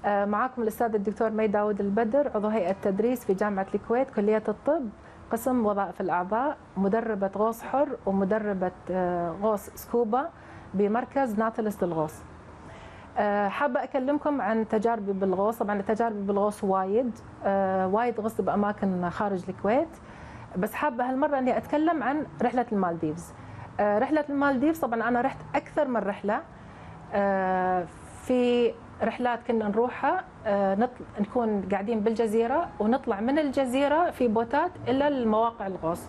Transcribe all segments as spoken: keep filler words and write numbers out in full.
معكم الأستاذ الدكتور مي داود البدر، عضو هيئة تدريس في جامعة الكويت كلية الطب، قسم وظائف الأعضاء، مدربة غوص حر ومدربة غوص سكوبا بمركز ناتلس للغوص. حابة أكلمكم عن تجاربي بالغوص. طبعا تجاربي بالغوص وايد وايد غصت بأماكن خارج الكويت، بس حابة هالمرة أني أتكلم عن رحلة المالديفز. رحلة المالديفز طبعا أنا رحت أكثر من رحلة. في رحلات كنا نروحها نطل... نكون قاعدين بالجزيرة ونطلع من الجزيرة في بوتات إلى المواقع الغوص.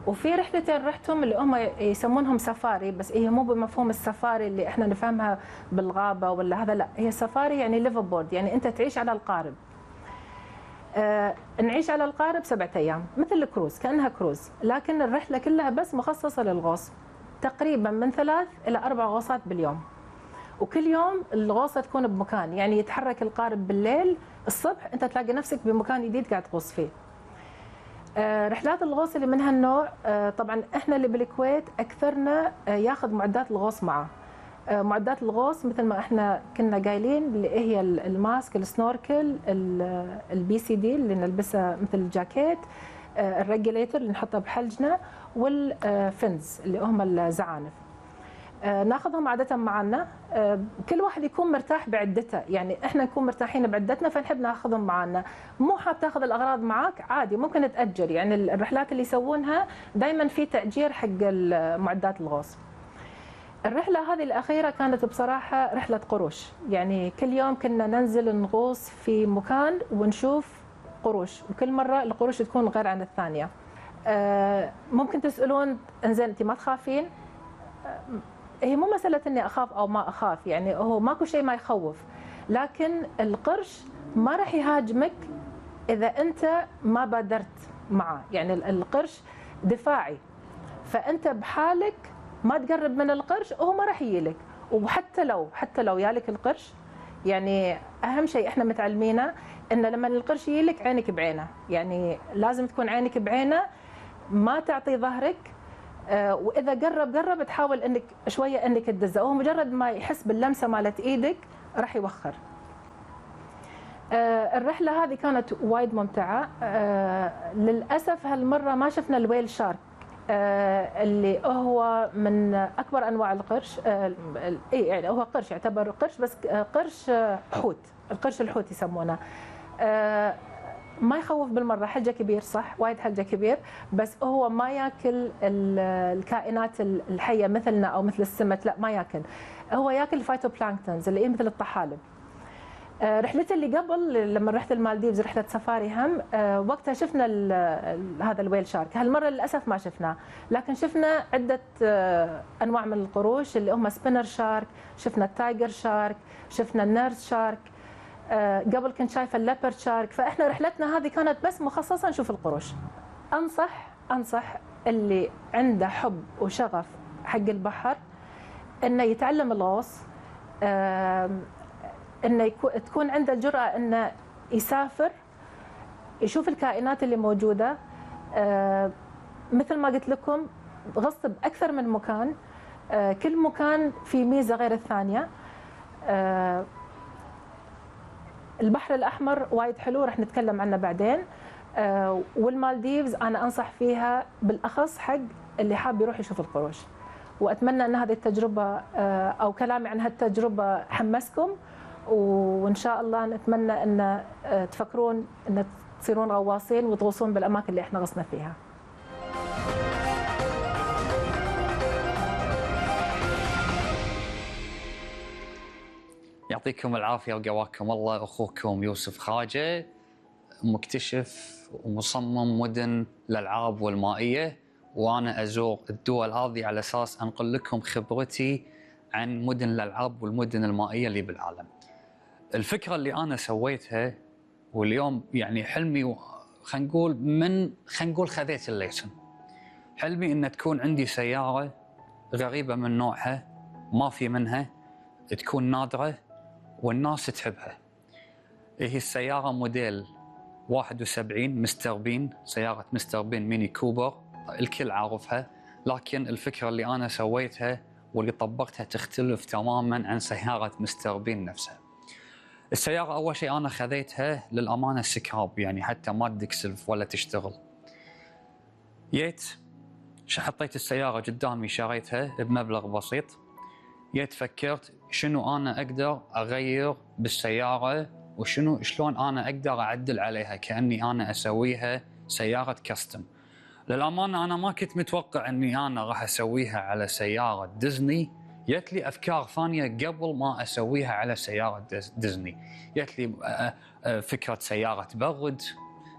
وفي رحلتين رحتهم اللي هم يسمونهم سفاري، بس هي مو بمفهوم السفاري اللي احنا نفهمها بالغابة ولا هذا، لا، هي سفاري يعني ليف بورد، يعني أنت تعيش على القارب. آه نعيش على القارب سبعة أيام مثل الكروز، كأنها كروز، لكن الرحلة كلها بس مخصصة للغوص، تقريبا من ثلاث إلى أربع غوصات باليوم. وكل يوم الغوصة تكون بمكان، يعني يتحرك القارب بالليل، الصبح أنت تلاقي نفسك بمكان جديد قاعد تغوص فيه. آه رحلات الغوص اللي من هالنوع، آه طبعا احنا اللي بالكويت أكثرنا آه ياخذ معدات الغوص معه. آه معدات الغوص مثل ما احنا كنا قايلين اللي هي الماسك، السنوركل، البي سي دي اللي نلبسها مثل الجاكيت، آه الريجوليتر اللي نحطه بحلجنا، والفنز اللي هم الزعانف. آه ناخذهم عادة معنا. آه كل واحد يكون مرتاح بعدته، يعني احنا نكون مرتاحين بعدتنا فنحب ناخذهم معنا. مو حاب تاخذ الاغراض معك عادي، ممكن تأجر، يعني الرحلات اللي يسوونها دائما في تأجير حق معدات الغوص. الرحلة هذه الأخيرة كانت بصراحة رحلة قروش، يعني كل يوم كنا ننزل نغوص في مكان ونشوف قروش، وكل مرة القروش تكون غير عن الثانية. آه ممكن تسألون انزين انت ما تخافين؟ هي مو مسألة اني اخاف او ما اخاف، يعني هو ماكو شيء ما يخوف، لكن القرش ما راح يهاجمك اذا انت ما بادرت معه، يعني القرش دفاعي، فانت بحالك ما تقرب من القرش وهو ما راح يجيلك. وحتى لو حتى لو يالك القرش، يعني اهم شيء احنا متعلمينه ان لما القرش يجيلك عينك بعينه، يعني لازم تكون عينك بعينه، ما تعطي ظهرك. آه واذا قرب قرب تحاول انك شويه انك تدزه، هو مجرد ما يحس باللمسه مالت ايدك راح يوخر. آه الرحله هذه كانت وايد ممتعه. آه للاسف هالمره ما شفنا الويل شارك، آه اللي هو من اكبر انواع القرش. آه يعني هو قرش، يعتبر قرش، بس قرش حوت، القرش الحوت يسمونه. آه ما يخوف بالمره، حلجه كبير صح، وايد حلجه كبير، بس هو ما ياكل الكائنات الحيه مثلنا او مثل السمك، لا ما ياكل، هو ياكل الفايتوبلانكتونز اللي هي مثل الطحالب. آه رحلتي اللي قبل لما رحت المالديفز رحله سفاري هم، آه وقتها شفنا ال ال هذا الويل شارك. هالمره للاسف ما شفناه، لكن شفنا عده آه انواع من القروش اللي هم سبينر شارك، شفنا التايجر شارك، شفنا النيرس شارك. آه قبل كنت شايفه الليبرد شارك. فاحنا رحلتنا هذه كانت بس مخصصه نشوف القروش. انصح انصح اللي عنده حب وشغف حق البحر انه يتعلم الغوص، آه انه تكون عنده الجرأة انه يسافر يشوف الكائنات اللي موجودة. آه مثل ما قلت لكم غصت بأكثر من مكان، آه كل مكان فيه ميزة غير الثانية. آه البحر الأحمر وايد حلو، رح نتكلم عنه بعدين. آه والمالديفز أنا أنصح فيها بالأخص حق اللي حاب يروح يشوف القروش. وأتمنى أن هذه التجربة آه أو كلامي عن هالتجربة حمسكم، وإن شاء الله نتمنى أن تفكرون أن تصيرون غواصين وتغوصون بالأماكن اللي إحنا غصنا فيها. يعطيكم العافية وقواكم الله. أخوكم يوسف خاجة، مكتشف ومصمم مدن الألعاب والمائية، وأنا أزور الدول هذه على أساس أنقل لكم خبرتي عن مدن الألعاب والمدن المائية اللي بالعالم. الفكرة اللي أنا سويتها واليوم يعني حلمي، خلينا نقول من خلينا نقول خذيت الليسن. حلمي إن تكون عندي سيارة غريبة من نوعها، ما في منها، تكون نادرة والناس تحبها. هي السيارة موديل واحد وسبعين مستر بين، سيارة مستر بين ميني كوبر، الكل عارفها، لكن الفكرة اللي أنا سويتها واللي طبقتها تختلف تماماً عن سيارة مستر بين نفسها. السيارة أول شيء أنا خذيتها للأمانة سكراب، يعني حتى ما تدق سلف ولا تشتغل. جيت حطيت السيارة قدامي شريتها بمبلغ بسيط. جيت فكرت شنو أنا أقدر أغير بالسيارة وشنو شلون أنا أقدر أعدل عليها كأني أنا أسويها سيارة كاستم. للأمانة أنا ما كنت متوقع أني أنا راح أسويها على سيارة ديزني. جت لي أفكار ثانية قبل ما أسويها على سيارة ديزني. جت لي فكرة سيارة برد،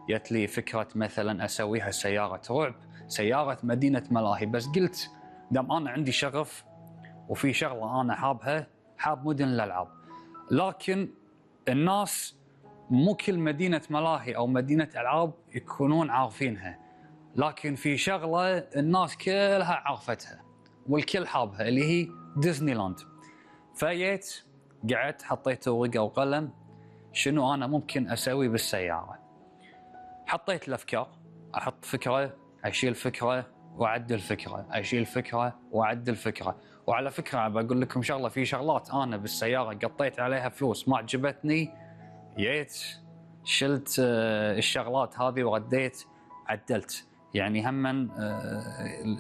جت لي فكرة مثلا أسويها سيارة رعب، سيارة مدينة ملاهي. بس قلت دام أنا عندي شغف وفي شغلة أنا حابها، حاب مدن الألعاب. لكن الناس مو كل مدينة ملاهي أو مدينة ألعاب يكونون عارفينها، لكن في شغلة الناس كلها عرفتها والكل حابها اللي هي ديزني لاند. فجيت قعدت حطيت ورقة وقلم شنو أنا ممكن أسوي بالسيارة. حطيت الأفكار، أحط فكرة أشيل فكرة وأعدل فكرة، أشيل فكرة وأعدل فكرة. وعلى فكرة بقول لكم شغلة، في شغلات أنا بالسيارة قطيت عليها فلوس ما عجبتني، جيت شلت الشغلات هذه ورديت عدلت. يعني هم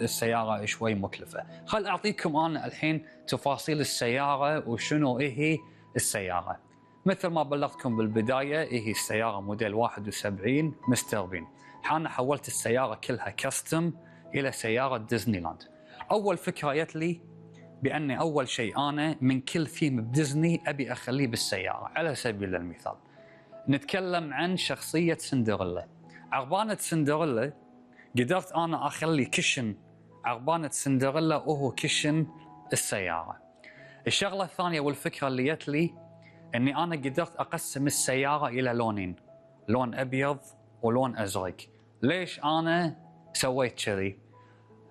السيارة شوي مكلفة. خل أعطيكم أنا الحين تفاصيل السيارة وشنو إيه هي السيارة. مثل ما بلغتكم بالبداية، إيه هي السيارة موديل واحد وسبعين مستر بين. أنا حولت السيارة كلها كاستم إلى سيارة ديزني لاند. أول فكرة جت لي بأني أول شيء أنا من كل ثيم بديزني أبي أخليه بالسيارة. على سبيل المثال نتكلم عن شخصية سندريلا. عربانة سندريلا قدرت أنا أخلي كشن عربانة سندريلا وهو كشن السيارة. الشغلة الثانية والفكرة اللي جت لي أني أنا قدرت أقسم السيارة إلى لونين، لون أبيض ولون أزرق. ليش أنا سويت كذي؟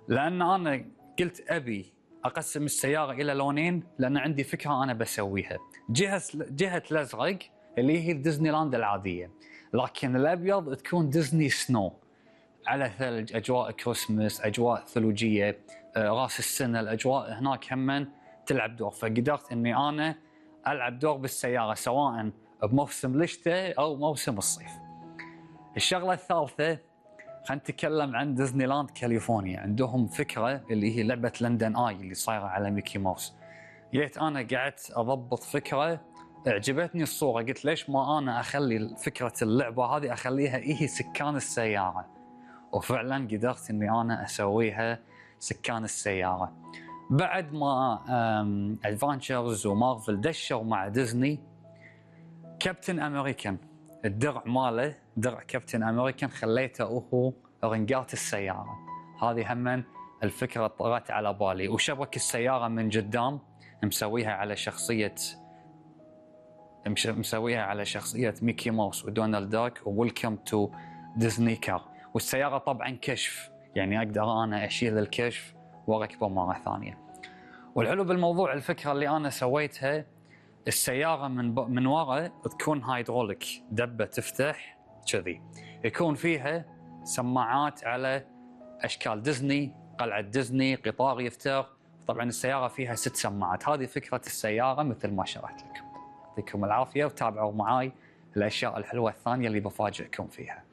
لأن أنا قلت أبي أقسم السيارة إلى لونين لأن عندي فكرة أنا بسويها. جهة جهة الأزرق اللي هي ديزني لاند العادية، لكن الأبيض تكون ديزني سنو على ثلج، أجواء كريسمس، أجواء ثلوجية، راس السنة، الأجواء هناك هم تلعب دور. فقدرت أني أنا ألعب دور بالسيارة سواء بموسم الشتاء أو موسم الصيف. الشغلة الثالثة خلينا نتكلم عن ديزني لاند كاليفورنيا. عندهم فكرة اللي هي لعبة لندن آي اللي صايرة على ميكي ماوس. جيت أنا قعدت أضبط فكرة، اعجبتني الصورة، قلت ليش ما أنا أخلي فكرة اللعبة هذه أخليها إيه سكان السيارة. وفعلا قدرت أني أنا أسويها سكان السيارة. بعد ما أدفانشرز ومارفل دشوا مع ديزني، كابتن أمريكان الدرع ماله درع كابتن أمريكان خليته هو رنقات السيارة. هذه هم الفكرة طرت على بالي. وشبك السيارة من قدام مسويها على شخصية مسويها على شخصية ميكي ماوس ودونالد داك وويلكم تو ديزني كار. والسيارة طبعا كشف، يعني أقدر أنا أشيل الكشف وأركبه مرة ثانية. والحلو بالموضوع الفكرة اللي أنا سويتها، السيارة من ب... من وراء تكون هايدروليك، دبة تفتح كذي، يكون فيها سماعات على أشكال ديزني، قلعة ديزني، قطار يفتح. طبعا السيارة فيها ست سماعات. هذه فكرة السيارة مثل ما شرحت لكم. يعطيكم العافية وتابعوا معاي الأشياء الحلوة الثانية اللي بفاجئكم فيها.